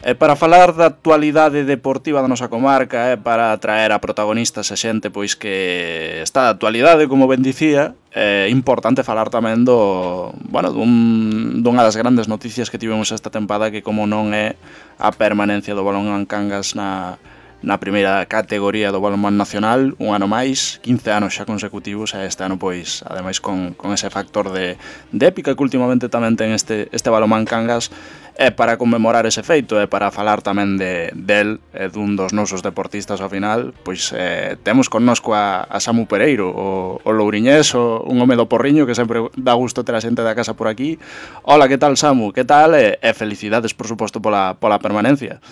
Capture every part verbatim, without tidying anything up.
E para falar da actualidade deportiva da nosa comarca, e para traer a protagonistas e xente pois que está de actualidade, como ben dicía, é importante falar tamén do, bueno, dun, dunha das grandes noticias que tivemos esta tempada, que como non é a permanencia do Balonmán Cangas na, na primeira categoría do balonmán nacional, un ano máis, quince anos xa consecutivos, e este ano pois, ademais con, con ese factor de, de épica que últimamente tamén ten este, este Balonmán Cangas. É para conmemorar ese feito, é para falar tamén de del, é dun dos nosos deportistas ao final, pois eh, temos connosco a, a Samu Pereiro, o, o louriñés, o, un home do Porriño que sempre dá gusto ter a xente da casa por aquí. Hola, que tal, Samu? Que tal? E, e felicidades, por suposto, pola, pola permanencia.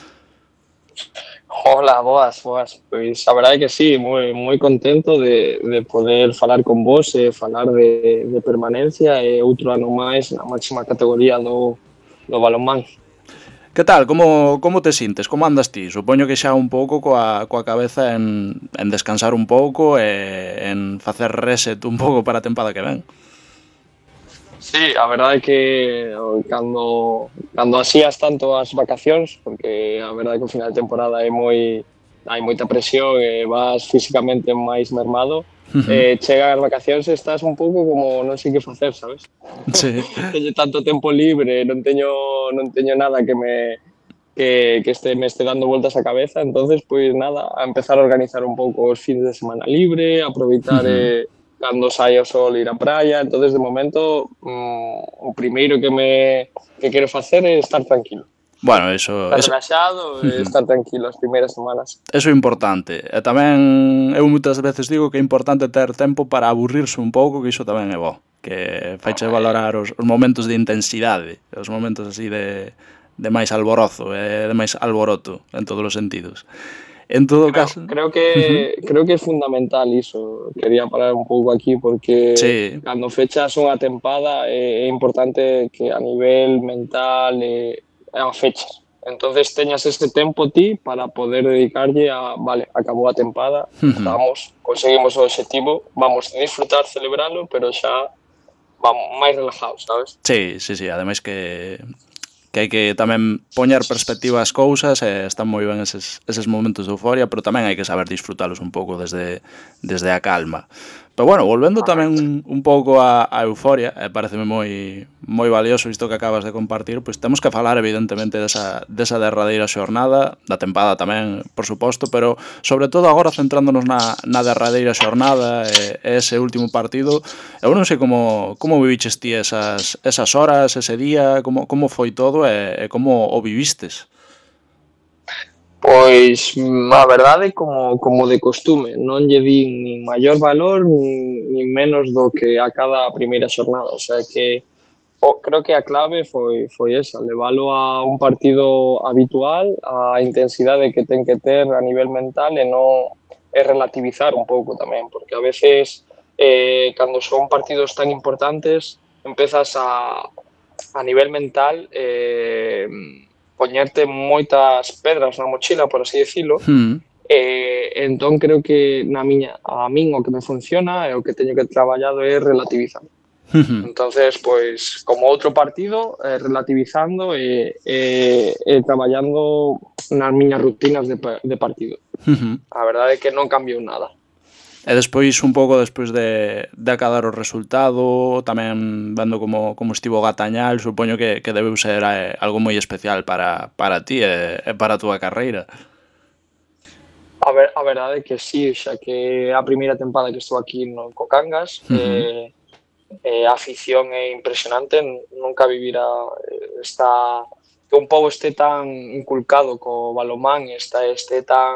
Hola, boas, boas. Pois a verdade é que sí, moi moi contento de, de poder falar con vos e falar de, de permanencia e outro ano máis na máxima categoría do do balonmán. Que tal? Como, como te sintes? Como andas ti? Supoño que xa un pouco coa, coa cabeza en, en descansar un pouco e en facer reset un pouco para a tempada que ven. Sí, a verdade é que cando, cando asías tanto as vacacións, porque a verdade é que o final de temporada é moi, hai moita presión e vas físicamente máis mermado, Uh-huh. eh, chegan as vacacións e estás un pouco como non sei que facer, sabes? Sí. Teño tanto tempo libre, non teño non teño nada que me que, que este, me este dando voltas a cabeza, entonces pois nada, a empezar a organizar un pouco os fins de semana libre, aproveitar uh-huh. eh, cando sai o sol ir á praia, entonces de momento mm, o primeiro que me que quero facer é estar tranquilo. Bueno, eso... Estar eso... relaxado e estar tranquilo as primeiras semanas. Eso é importante. E tamén eu moitas veces digo que é importante ter tempo para aburrirse un pouco, que iso tamén é bo. Que faiche valorar os, os momentos de intensidade, os momentos así de, de máis alborozo, e de máis alboroto en todos os sentidos. En todo creo, caso... Creo que uh-huh. creo que é fundamental iso. Quería parar un pouco aquí porque sí. Cando fechas unha tempada é, é importante que a nivel mental e a fechas. Entonces teñas este tempo ti para poder dedicarlle a, vale, acabou a tempada, uh-huh. vamos, conseguimos o obxectivo, vamos a disfrutar, celebralo, pero xa vamos máis relajados, sabes? Sí, sí, sí, ademais que que hai que tamén poñer perspectiva ás cousas, e están moi ben eses, eses momentos de euforia, pero tamén hai que saber disfrutalos un pouco desde, desde a calma. Pero bueno, volvendo tamén un, un pouco a, a euforia, e pareceme moi moi valioso isto que acabas de compartir, pois temos que falar evidentemente desa, desa derradeira xornada, da tempada tamén, por suposto, pero sobre todo agora centrándonos na, na derradeira xornada e, e ese último partido. Eu non sei como, como viviches ti esas, esas horas, ese día, como, como foi todo e, e como o vivistes? Pois a verdade como, como de costume, non lle di nin maior valor nin, nin menos do que a cada primeira xornada, o sea que o, creo que a clave foi, foi esa, levalo a un partido habitual, a intensidade que ten que ter a nivel mental e non é relativizar un pouco tamén, porque a veces eh, cando son partidos tan importantes empezas a, a nivel mental eh, poñerte moitas pedras na mochila, por así decirlo, Hmm. eh, entón creo que na miña, a min o que me funciona e o que teño que traballado é relativizar. Uh-huh. Entonces, pois, como outro partido, eh, relativizando e, e, e traballando nas miñas rutinas de, de partido. Uh-huh. A verdade é que non cambiou nada. E despois, un pouco despois de, de acabar o resultado, tamén vendo como, como estivo Gatañal, supoño que, que debeu ser eh, algo moi especial para, para ti e, e para a túa carreira. A, ver, a verdade é que sí, xa que a primeira tempada que estou aquí no Cocangas, uh-huh. eh, eh, a afición é impresionante, nunca vivira esta, que un pobo este tan inculcado co balonmán, esta, este tan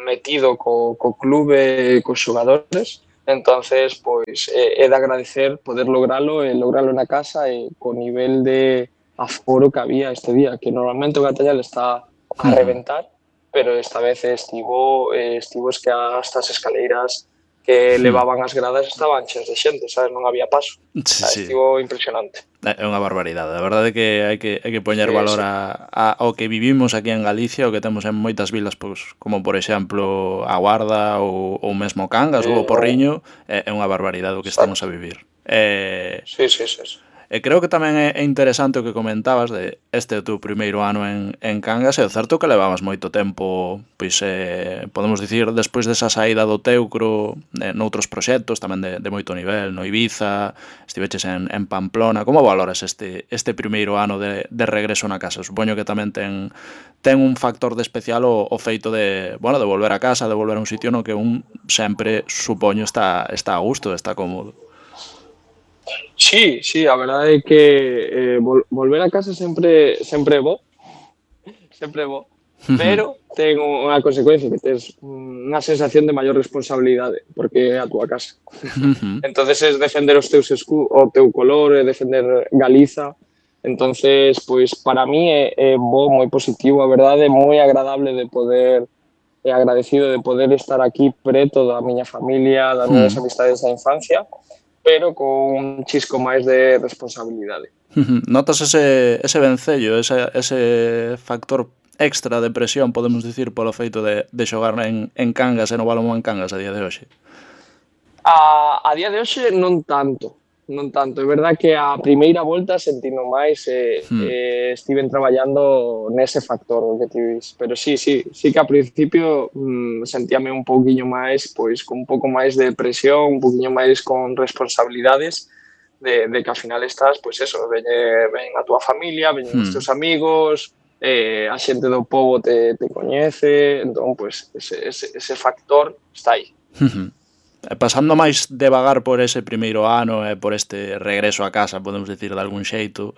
metido co, co clube e cos xogadores, entonces pois é, é de agradecer poder logralo e logralo na casa e co nivel de aforo que había este día, que normalmente o Gatallal está a reventar, pero esta vez estivo eh, estivo es que hasta as escaleiras que levaban as gradas estaban cheias de xente, sabes, non había paso. Sí, sí. Estivo impresionante. É unha barbaridade. A verdade é que hai que, hai que poñer sí, valor sí. A, a, ao que vivimos aquí en Galicia, o que temos en moitas vilas, pois, como por exemplo a Guarda ou, ou mesmo Cangas sí, ou o Porriño, é, é unha barbaridade o que estamos a vivir. Eh, sí, sí, sí, sí. E creo que tamén é interesante o que comentabas de este teu primeiro ano en, en Cangas, e o certo que levabas moito tempo, pois, eh, podemos dicir, despois desa saída do Teucro, eh, noutros proxectos tamén de, de moito nivel, no Ibiza, estiveches en, en Pamplona. Como valoras este, este primeiro ano de, de regreso na casa? Supoño que tamén ten, ten un factor de especial o, o feito de, bueno, de volver a casa, de volver a un sitio no que un sempre, supoño, está, está a gusto, está cómodo. Sí, sí, a verdade é que eh, vol volver a casa sempre sempre é bo, sempre é bo, pero ten unha consecuencia que tes unha sensación de maior responsabilidade, porque é a túa casa. Entonces es defender os teus escu o teu color, é defender Galiza. Entonces, pois para mí é, é bo, moi positivo, a verdade, é moi agradable de poder e agradecido de poder estar aquí preto da miña familia, das miñas amistades da infancia, pero con un chisco máis de responsabilidade. Notas ese, ese vencello, ese, ese factor extra de presión, podemos dicir, polo feito de, de xogar en, en Cangas e no balonmán Cangas a día de hoxe? A, a día de hoxe non tanto, non tanto. É verdad que a primeira volta sentindo máis e eh, Hmm. eh, estiven traballando nese factor o que ti dis. Pero sí, sí, sí que a principio mm, sentíame un pouquiño máis, pois con un pouco máis de presión, un pouquiño máis con responsabilidades de, de que ao final estás, pois eso, ven, ven a túa familia, ven Hmm. os teus amigos, eh, a xente do pobo te, te coñece, entón, pois, ese, ese, ese factor está aí. Pasando máis devagar por ese primeiro ano e por este regreso a casa, podemos dicir de algún xeito,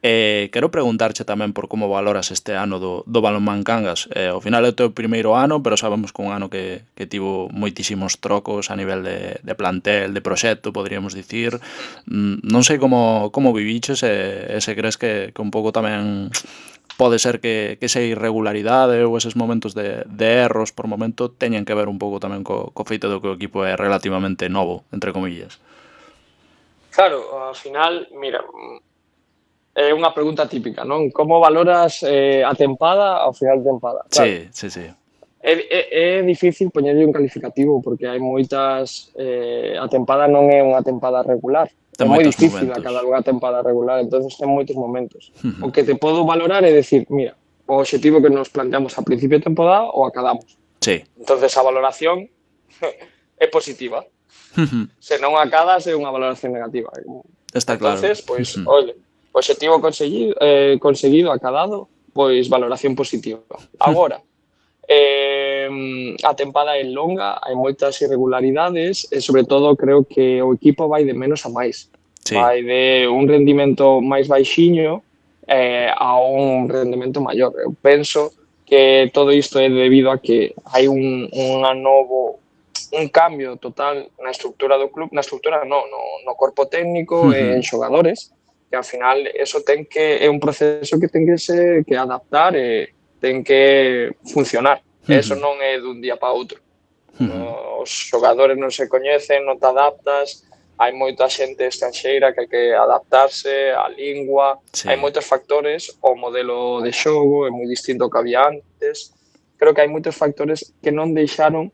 eh, quero preguntarche tamén por como valoras este ano do, do balonmán Cangas. Eh, ao final é o teu primeiro ano, pero sabemos que un ano que, que tivo moitísimos trocos a nivel de, de plantel, de proxecto, poderíamos dicir. Mm, non sei como, como viviches e, e se crees que, que un pouco tamén pode ser que, que esa irregularidade ou eses momentos de, de erros por momento teñen que ver un pouco tamén co, co feito do que o equipo é relativamente novo, entre comillas. Claro, ao final, mira, é unha pregunta típica, non? Como valoras eh, a tempada ao final de tempada? Claro, Sí, sí, sí. é, é, é difícil poñerlle un calificativo porque hai moitas... Eh, a tempada non é unha tempada regular. Ten É moi moitos difícil momentos. acabar unha tempada regular, entonces ten moitos momentos. O que te podo valorar é decir, mira, o obxectivo que nos planteamos a principio de temporada o acabamos. Sí. Entonces a valoración é positiva. Se non acadas é unha valoración negativa. Está claro. Entonces, pois, ole, obxectivo conseguido, eh, conseguido, acabado, pois valoración positiva. Agora, eh, a tempada é longa, hai moitas irregularidades e, sobre todo, creo que o equipo vai de menos a máis. Sí. Vai de un rendimento máis baixiño eh, a un rendimento maior. Eu penso que todo isto é debido a que hai un, un novo un cambio total na estructura do club, na estructura no, no, no corpo técnico e en xogadores, que ao final eso ten que é un proceso que ten que se que adaptar e ten que funcionar. Eso non é dun día para outro. No, os xogadores non se coñecen, non te adaptas, hai moita xente estranxeira que hai que adaptarse á lingua, Sí. hai moitos factores, o modelo de xogo é moi distinto ao que había antes. Creo que hai moitos factores que non deixaron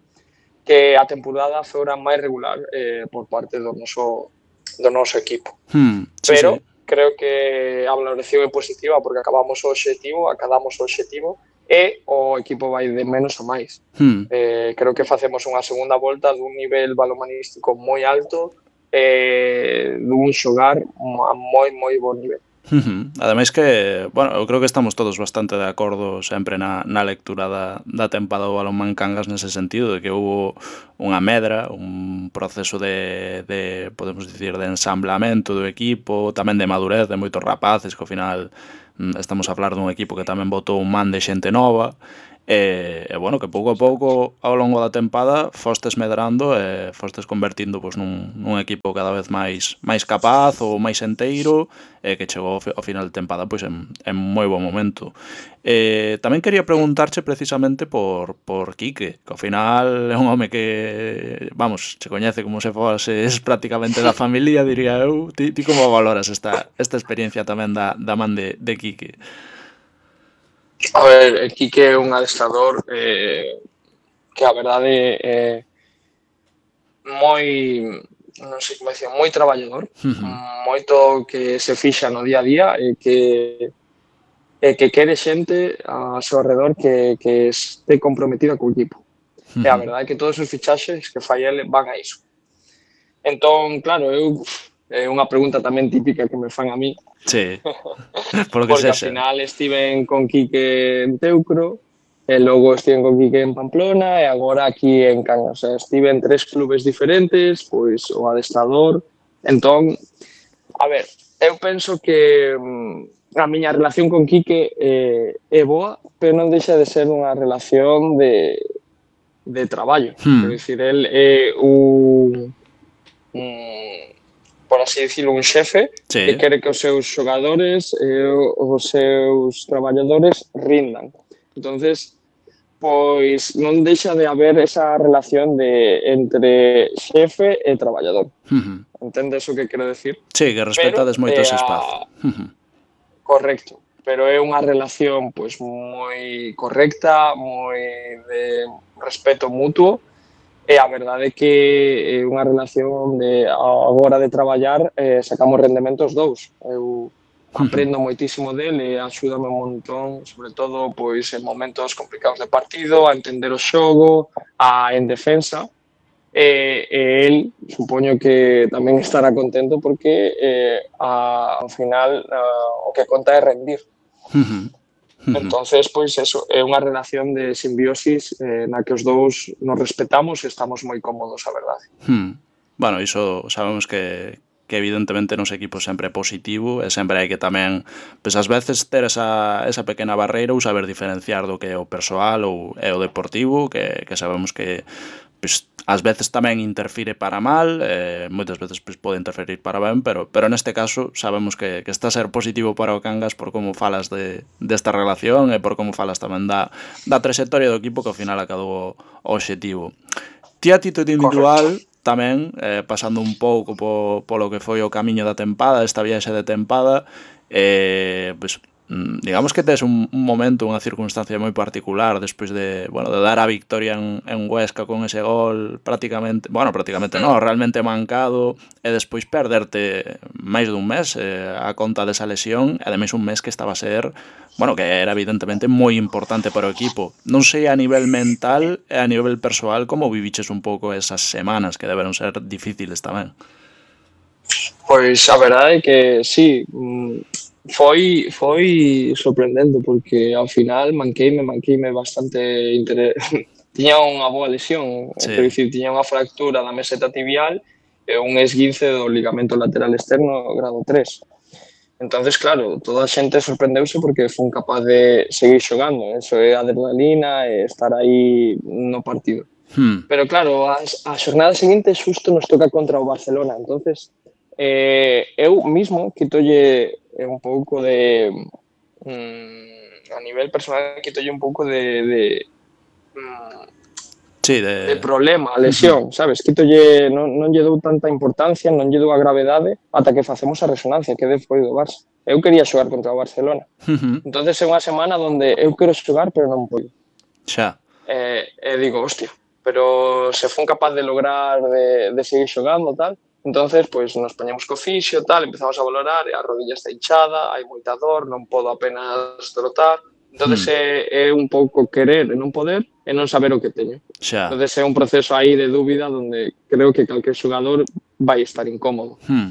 que a temporada fora máis regular eh, por parte do noso, do noso equipo. Hmm, sí, Pero sí. creo que a valoración é positiva porque acabamos o obxectivo, acabamos o obxectivo e o equipo vai de menos a máis. Hmm. Eh, creo que facemos unha segunda volta dun nivel balomanístico moi alto e dun xogar a moi, moi bon nivel. Uh-huh. Ademais que, bueno, eu creo que estamos todos bastante de acordo sempre na, na lectura da, da tempada do balonmán Cangas nese sentido, de que houve unha medra, un proceso de, de, podemos dicir, de ensamblamento do equipo, tamén de madurez de moitos rapaces, que ao final estamos a falar dun equipo que tamén botou un man de xente nova, e, e bueno, que pouco a pouco ao longo da tempada fostes medrando e fostes convertindo pois, nun, nun equipo cada vez máis máis capaz ou máis enteiro e que chegou ao final de tempada pois, en, en moi bo momento. E, tamén quería preguntarche precisamente por, por Quique, que ao final é un home que, vamos, se coñece como se foses prácticamente da familia, diría eu. Ti, ti como valoras esta, esta experiencia tamén da, da man de, de Quique? A ver, el Quique é un adestrador eh, que a verdade é moi non sei como decía, moi traballador, Uh-huh. moito que se fixa no día a día e que e que quere xente a seu alrededor que, que este comprometida co equipo. Uh-huh. E a verdade é que todos os fichaxes que fai ele van a iso. Entón, claro, eu é unha pregunta tamén típica que me fan a mí. Sí, por lo que porque sexa. ao final estiven con Quique en Teucro, e logo estiven con Quique en Pamplona e agora aquí en Cangas. O sea, estive en tres clubes diferentes, pois o adestrador. Entón, a ver, eu penso que mm, a miña relación con Quique eh, é boa, pero non deixa de ser unha relación de, de traballo. Hmm. Quero dicir, el é un, un por así dicirlo, un xefe sí. que quere que os seus xogadores e os seus traballadores rindan. Entonces, pois non deixa de haber esa relación de entre xefe e traballador. Uh-huh. Entendes o que quero decir? Sí, que respetades pero, moito eh, ese espazo. Uh-huh. Correcto, pero é unha relación pois moi correcta, moi de respeto mutuo. E a verdade é que é unha relación de a hora de traballar eh, sacamos rendementos dous. Eu aprendo uh-huh. moitísimo dele e axúdame un montón, sobre todo pois en momentos complicados de partido, a entender o xogo, a en defensa. E, e el, supoño que tamén estará contento porque eh, a, ao final uh, o que conta é rendir. Uh-huh. Uh-huh. Entonces, pois eso, é unha relación de simbiosis eh, na que os dous nos respetamos e estamos moi cómodos, a verdade. Hmm. Bueno, iso sabemos que, que evidentemente nos equipos sempre é positivo e sempre hai que tamén, pois ás veces ter esa, esa pequena barreira ou saber diferenciar do que é o persoal ou é o deportivo, que, que sabemos que pois, ás veces tamén interfire para mal, eh, moitas veces pois, pode interferir para ben, pero, pero neste caso sabemos que, que está a ser positivo para o Cangas por como falas de, desta relación e por como falas tamén da, da trayectoria do equipo que ao final acabou o objetivo. Ti a título individual Correcto. tamén, eh, pasando un pouco po, polo que foi o camiño da tempada, esta viaxe de tempada, eh, pois, digamos que tes un, un momento, unha circunstancia moi particular despois de, bueno, de dar a victoria en, en Huesca con ese gol prácticamente, bueno, prácticamente non, realmente mancado, e despois perderte máis dun mes eh, a conta desa lesión, e ademais un mes que estaba a ser, bueno, que era evidentemente moi importante para o equipo. Non sei a nivel mental e a nivel persoal como viviches un pouco esas semanas que deberon ser difíciles tamén. Pois a verdade é que sí, foi foi sorprendente porque ao final manqueime, manqueime bastante interés. Tiña unha boa lesión, sí. Quero dicir, tiña unha fractura da meseta tibial e un esguince do ligamento lateral externo grado tres. Entonces, claro, toda a xente sorprendeuse porque fun capaz de seguir xogando, eso é adrenalina e estar aí no partido. Hmm. Pero claro, a, a xornada seguinte xusto nos toca contra o Barcelona, entonces eh, eu mismo quitolle un pouco de mm, a nivel personal quitolle un pouco de, de mm, sí, de... de problema, a lesión, uh-huh. sabes? Quitolle, non, non lle dou tanta importancia, non lle dou a gravedade ata que facemos a resonancia que foi do Barça. Eu quería xogar contra o Barcelona. Uh-huh. Entonces é unha semana onde eu quero xogar pero non podo. Xa. E, e digo, hostia, pero se fun capaz de lograr de, de seguir xogando tal, entonces pues nos poñemos co fisio tal, empezamos a valorar e a rodilla está hinchada, hai moita dor, non podo apenas trotar. Entonces hmm. é, é un pouco querer e non poder e non saber o que teño. Xa. Entonces é un proceso aí de dúbida onde creo que calquer xogador vai estar incómodo. Hmm.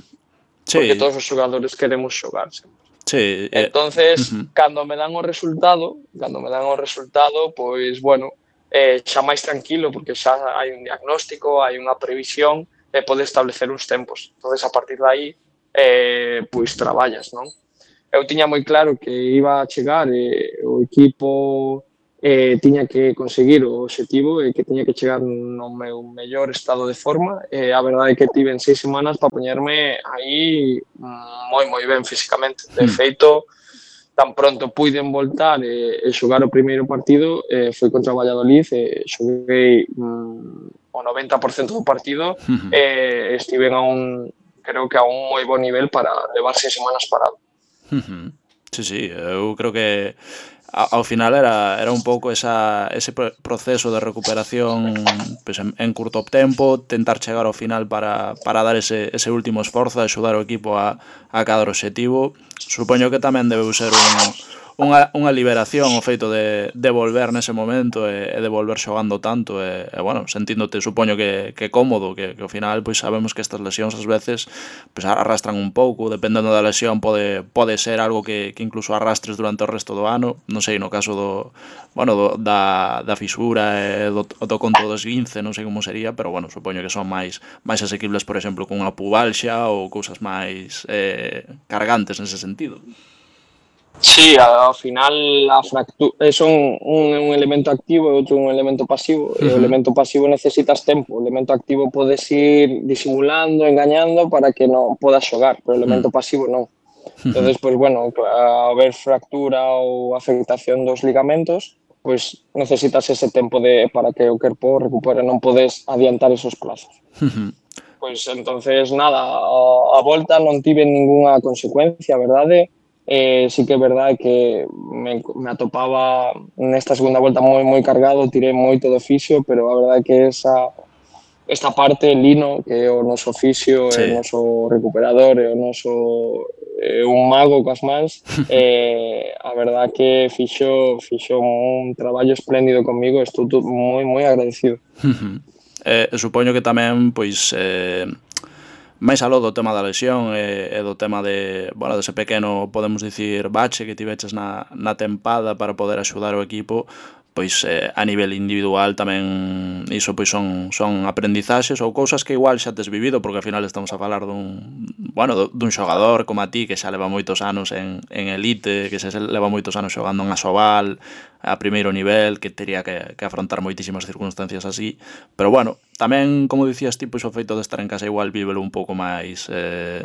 Sí. Porque todos os xogadores queremos xogar sempre. Sí. Entonces, uh-huh. cando me dan o resultado, cando me dan o resultado, pois, bueno, eh, xa máis tranquilo, porque xa hai un diagnóstico, hai unha previsión, e pode establecer uns tempos. Entonces, a partir de aí, eh, pois, traballas, non? Eu tiña moi claro que iba a chegar e o equipo eh, tiña que conseguir o objetivo e que tiña que chegar no meu mellor estado de forma e a verdade é que tive en seis semanas para poñerme aí moi moi ben físicamente. De feito, tan pronto puiden voltar e, e xogar o primeiro partido eh, foi contra o Valladolid e xoguei mm, o noventa por cento do partido e estiven a un, creo que a un moi bo nivel para levar seis semanas parado. Uh-huh. Sí, sí, eu creo que ao final era, era un pouco esa, ese proceso de recuperación pues, en, en curto tempo, tentar chegar ao final para, para dar ese, ese último esforzo, axudar o equipo a, a cada objetivo. Supoño que tamén debeu ser un, unha, unha liberación o feito de, de volver nese momento e, e de volver xogando tanto e, e bueno, sentíndote supoño que, que cómodo, que, que ao final pois sabemos que estas lesións ás veces pues, arrastran un pouco, dependendo da lesión pode, pode ser algo que, que incluso arrastres durante o resto do ano, non sei, no caso do, bueno, do, da, da fisura e do, do conto do esguince, non sei como sería, pero bueno, supoño que son máis máis asequibles, por exemplo, con unha pubalxa ou cousas máis eh, cargantes nese sentido. Sí, ao final a fractura son un, un elemento activo e outro un elemento pasivo. E o elemento pasivo necesitas tempo, o elemento activo podes ir disimulando, engañando para que non podas xogar, pero o elemento pasivo non. Entonces, pues bueno, a haber fractura ou afectación dos ligamentos, pues necesitas ese tempo de para que o corpo recupere, non podes adiantar esos plazos. Pois entonces nada, a, a volta non tive ningunha consecuencia, verdade? Eh, sí que é verdade que me, me atopaba nesta segunda volta moi moi cargado, tirei moito do fisio, pero a verdade que esa esta parte, Lino, que é o noso fisio, sí. É o noso recuperador, é o noso é un mago coas mans, eh, a verdade que fixo, fixo un traballo espléndido comigo, estou moi moi agradecido. eh, supoño que tamén, pois, eh, máis aló do tema da lesión e, e do tema de, bueno, dese pequeno, podemos dicir, bache que tiveches na, na tempada para poder axudar o equipo, pois eh, a nivel individual tamén iso pois son son aprendizaxes ou cousas que igual xa tes vivido, porque ao final estamos a falar dun, bueno, dun xogador como a ti que xa leva moitos anos en, en elite, que xa leva moitos anos xogando en Asobal a primeiro nivel, que tería que, que afrontar moitísimas circunstancias así, pero bueno, tamén, como dicías ti, pois o feito de estar en casa igual vívelo un pouco máis eh,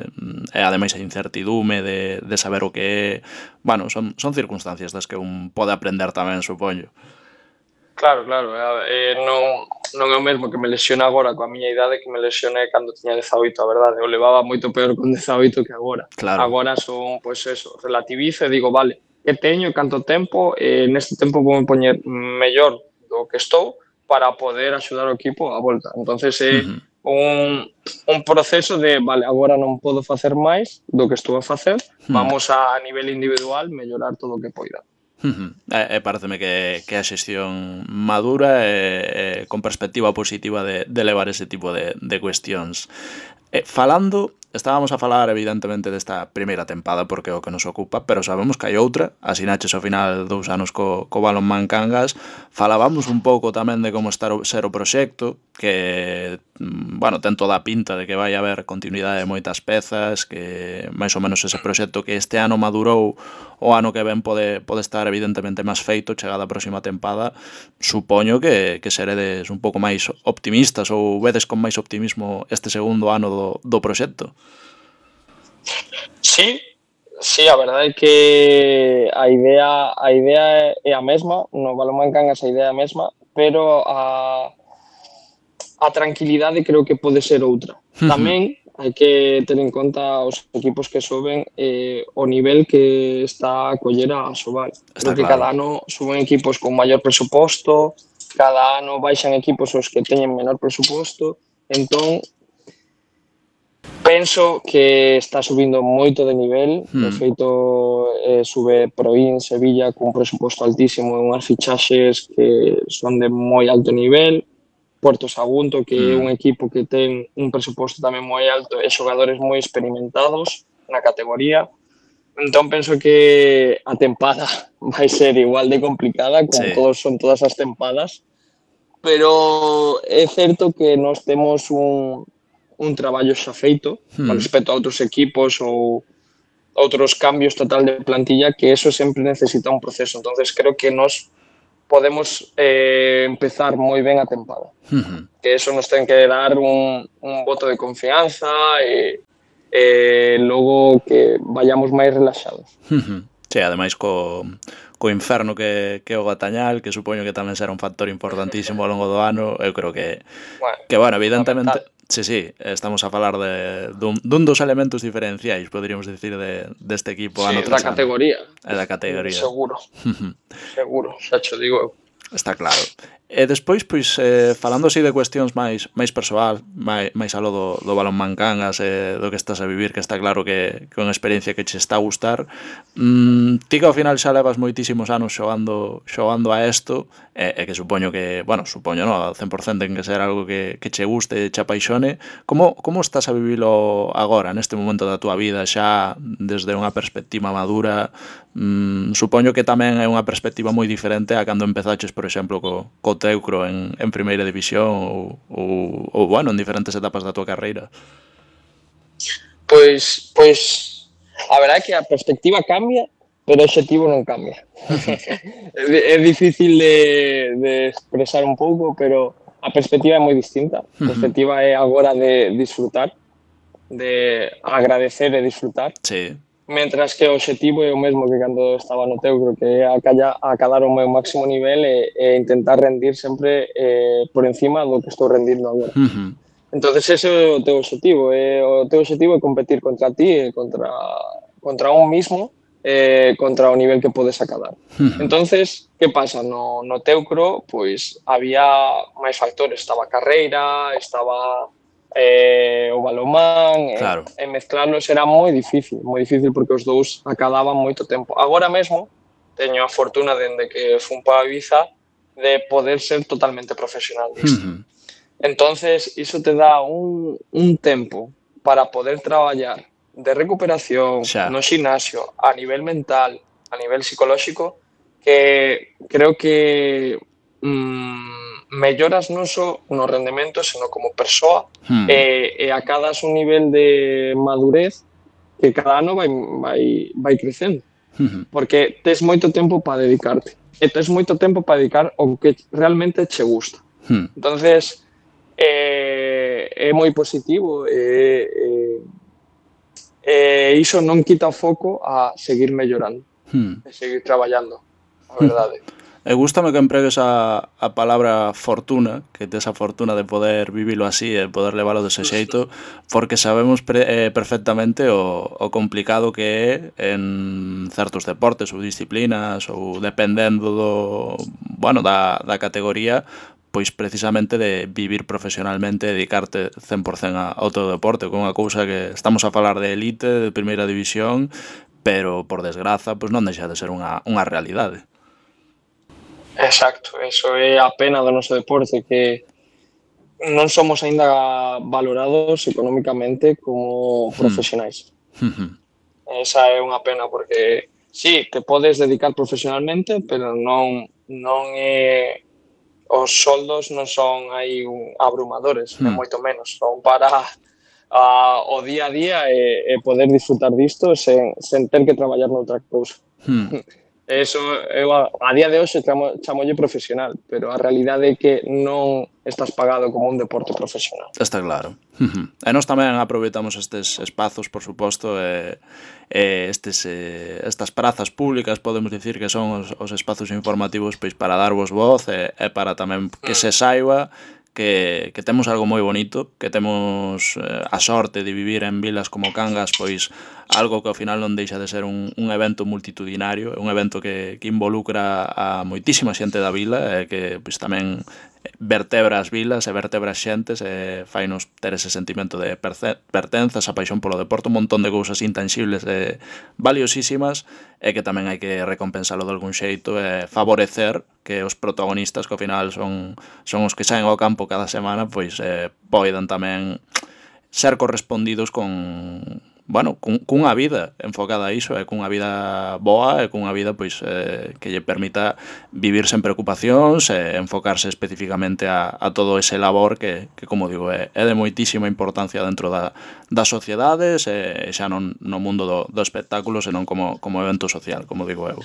e ademais a incertidume de, de saber o que é, bueno, son, son circunstancias das que un pode aprender tamén, supoño. Claro, claro, eh, non, non é o mesmo que me lesione agora coa miña idade que me lesione cando tiña dezaoito, a verdade, eu levaba moito peor con dezaoito que agora. Claro. Agora son, pois eso, relativizo e digo, vale, que teño, canto tempo, e neste tempo vou me poñer mellor do que estou para poder axudar o equipo a volta. Entonces é uh-huh. un, un proceso de, vale, agora non podo facer máis do que estou a facer, uh-huh. vamos a, a nivel individual mellorar todo o que poida. Uh-huh. E, e pareceme que, que a xestión madura e, e con perspectiva positiva de, de levar ese tipo de, de cuestións. E, falando, estábamos a falar evidentemente desta primeira tempada porque é o que nos ocupa, pero sabemos que hai outra, asinaches ao final dous anos co, co Balonmán Cangas, falábamos un pouco tamén de como estar o, ser o proxecto, que, bueno, ten toda a pinta de que vai haber continuidade de moitas pezas, que máis ou menos ese proxecto que este ano madurou, o ano que ven pode, pode estar evidentemente máis feito, chegada a próxima tempada, supoño que, que seredes un pouco máis optimistas ou vedes con máis optimismo este segundo ano do, do proxecto. Sí, sí, a verdade é que a idea a idea é a mesma, no Balonmán Cangas a idea é a mesma, pero a a tranquilidade creo que pode ser outra. Tamén hai que ter en conta os equipos que soben eh, o nivel que está a coller a Asobal. Creo que claro. Cada ano suben equipos con maior presuposto, cada ano baixan equipos os que teñen menor presuposto, entón penso que está subindo moito de nivel, hmm. de feito eh, sube Proín, Sevilla cun presuposto altísimo e unhas fichaxes que son de moi alto nivel, Puerto Sagunto, que é un equipo que ten un presuposto tamén moi alto e xogadores moi experimentados na categoría. Entón, penso que a tempada vai ser igual de complicada, como sí. todos son todas as tempadas, pero é certo que nós temos un, un traballo xa feito hmm. con respecto a outros equipos ou outros cambios total de plantilla, que eso sempre necesita un proceso. Entonces, creo que nós podemos eh, empezar moi ben a tempada. Uh-huh. Que eso nos ten que dar un, un voto de confianza e, e logo que vayamos máis relaxados. Uh-huh. Sí, ademais co, co inferno que, que o Gatañal, que supoño que tamén será un factor importantísimo ao longo do ano, eu creo que, bueno, que bueno, evidentemente, Sí, sí, estamos a falar de, dun, dun dos elementos diferenciais, poderíamos dicir, de, deste equipo Sí, ano da tras ano. categoría, É da categoría. seguro, seguro, xa cho digo eu. Está claro. E despois, pois, eh, falando así de cuestións máis máis persoal, máis, máis aló do, do balonmán Cangas e eh, do que estás a vivir, que está claro que, que é unha experiencia que che está a gustar, mm, ti que ao final xa levas moitísimos anos xogando xogando a esto, e, e que supoño que, bueno, supoño, no, ao cen por cento en que ser algo que, que che guste, che apaixone, como, como estás a vivilo agora, neste momento da túa vida, xa desde unha perspectiva madura? Mm, supoño que tamén é unha perspectiva moi diferente a cando empezaches, por exemplo, co, co Teucro en, en primeira división ou, ou, ou, bueno, en diferentes etapas da túa carreira. Pois, pois, a verdade é que a perspectiva cambia, pero o objetivo non cambia. É difícil de, de expresar un pouco, pero a perspectiva é moi distinta. A perspectiva é agora de disfrutar, de agradecer e disfrutar. Sí. Mentras que o objetivo é o mesmo que cando estaba no Teucro, que é acadar o meu máximo nivel e, e intentar rendir sempre eh, por encima do que estou rendindo agora. Uh -huh. Entonces ese é o teu objetivo, é, o teu objetivo é competir contra ti e contra, contra un mismo, eh, contra o nivel que podes acadar. Uh -huh. Entonces, que pasa? No, no Teucro, pois, había máis factores, estaba a carreira, estaba eh, o balomán, claro. e, e mezclarlos era moi difícil, moi difícil porque os dous acadaban moito tempo. Agora mesmo, teño a fortuna dende que fun para Ibiza de poder ser totalmente profesional disto. Uh -huh. Entonces, iso te dá un, un tempo para poder traballar de recuperación xa. No xinasio, a nivel mental, a nivel psicolóxico, que creo que mmm, melloras non só no rendemento, senón como persoa, hmm. e, e acadas un nivel de madurez que cada ano vai, vai, vai crecendo. Uh-huh. Porque tes moito tempo para dedicarte. E tes moito tempo para dedicar ao que realmente che gusta. Uh-huh. Entonces, eh, é moi positivo e, e, e iso non quita o foco a seguir mellorando. Uh-huh. E seguir traballando, a verdade. Uh-huh. E gústame que empregues a, a palabra fortuna, que tes a fortuna de poder vivilo así e poder levalo dese xeito, porque sabemos pre, eh, perfectamente o, o complicado que é en certos deportes ou disciplinas ou dependendo do, bueno, da, da categoría, pois precisamente de vivir profesionalmente, dedicarte cen por cento ao teu deporte, con unha cousa que estamos a falar de elite, de primeira división, pero por desgraza pois non deixa de ser unha, unha realidade. Exacto, eso é a pena do noso deporte, que non somos aínda valorados económicamente como profesionais. Hmm. Esa é unha pena, porque sí, te podes dedicar profesionalmente, pero non, non é... os soldos non son aí un, abrumadores, hmm. é moito menos, son para a, o día a día e, e poder disfrutar disto sen, sen ter que traballar noutra cousa. Hmm. Eso, eu a, a día de hoxe chamo, chamolle profesional, pero a realidade é que non estás pagado como un deporte profesional. Está claro. Uh-huh. E nós tamén aproveitamos estes espazos, por suposto, e, e estes, e, estas prazas públicas, podemos dicir que son os, os espazos informativos pois para darvos voz e, e para tamén que se saiba que, que temos algo moi bonito, que temos eh, a sorte de vivir en vilas como Cangas, pois algo que ao final non deixa de ser un, un evento multitudinario, un evento que, que involucra a moitísima xente da vila e que pois tamén vertebra as vilas e vertebra as xentes e fainos ter ese sentimento de pertenza, esa paixón polo deporte, un montón de cousas intangibles e valiosísimas e que tamén hai que recompensalo de algún xeito e favorecer que os protagonistas, que ao final son, son os que saen ao campo cada semana, pois eh, poidan tamén ser correspondidos con... bueno, cun, cunha vida enfocada a iso, e cunha vida boa e cunha vida pois eh, que lle permita vivir sen preocupacións e enfocarse especificamente a, a todo ese labor que, que como digo, é, é de moitísima importancia dentro da, das sociedades e xa non no mundo do, do espectáculo, senón como, como evento social, como digo eu.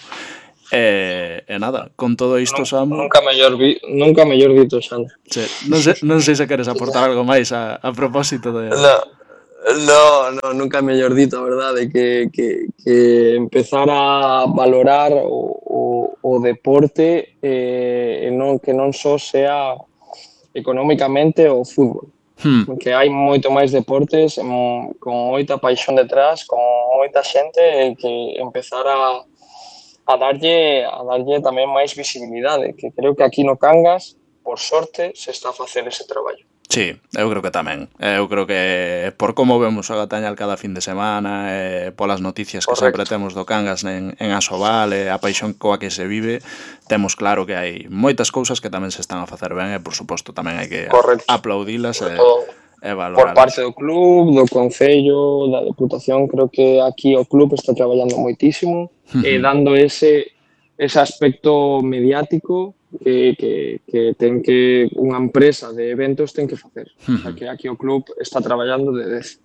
E, e nada, con todo isto, Samu... Nunca mellor, vi, nunca mellor dito, Xan. Sí, non, sei, non sei se queres aportar algo máis a, a propósito de... No. No, no, nunca mellor dito, a verdade, que, que, que empezar a valorar o, o, o deporte eh, non, que non só sea económicamente o fútbol, Hmm. Que hai moito máis deportes em, con moita paixón detrás, con moita xente e que empezar a, a darlle a darlle tamén máis visibilidade, que creo que aquí no Cangas, por sorte, se está a facer ese traballo. Sí, eu creo que tamén. Eu creo que por como vemos o Gatañal cada fin de semana, e polas noticias que Correcto. sempre temos do Cangas en, en Asobal, e a paixón coa que se vive, temos claro que hai moitas cousas que tamén se están a facer ben e, por suposto, tamén hai que Correcto. aplaudilas e, e Por valoralas. parte do club, do Concello, da Deputación, creo que aquí o club está traballando moitísimo Uh-huh. e dando ese, ese aspecto mediático que, que, que ten que unha empresa de eventos ten que facer. Uh-huh. O sea, que aquí o club está traballando de dez.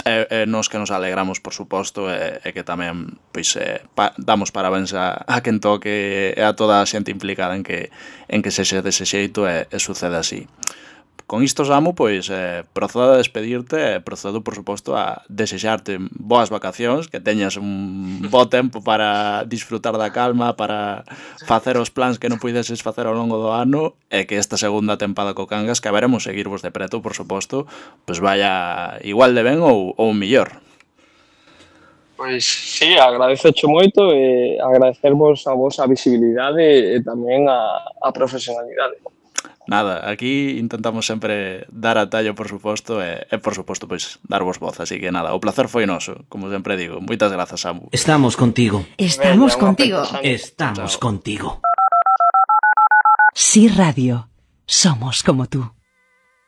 E, e nos que nos alegramos, por suposto, e, e que tamén pois, eh, pa, damos parabéns a, a quen toque e a toda a xente implicada en que, en que sexe dese xeito e, e sucede así. Con isto, Samu, pois, eh, procedo a despedirte e procedo, por suposto, a desexarte boas vacacións, que teñas un bo tempo para disfrutar da calma, para facer os plans que non puideses facer ao longo do ano, e que esta segunda tempada co Cangas, que veremos seguirvos de preto, por suposto, pois vaya igual de ben ou, ou millor. Pois sí, agradezocho moito e agradecervos a vos a visibilidade e tamén a, a profesionalidade. Nada, aquí intentamos sempre dar a tallo, por suposto, e, e por suposto, pois, darvos voz. Así que nada, o placer foi noso, como sempre digo. Moitas grazas, Samu. Estamos contigo. Estamos Venga, contigo. Estamos Chao. contigo. Sí Radio. Somos como tú.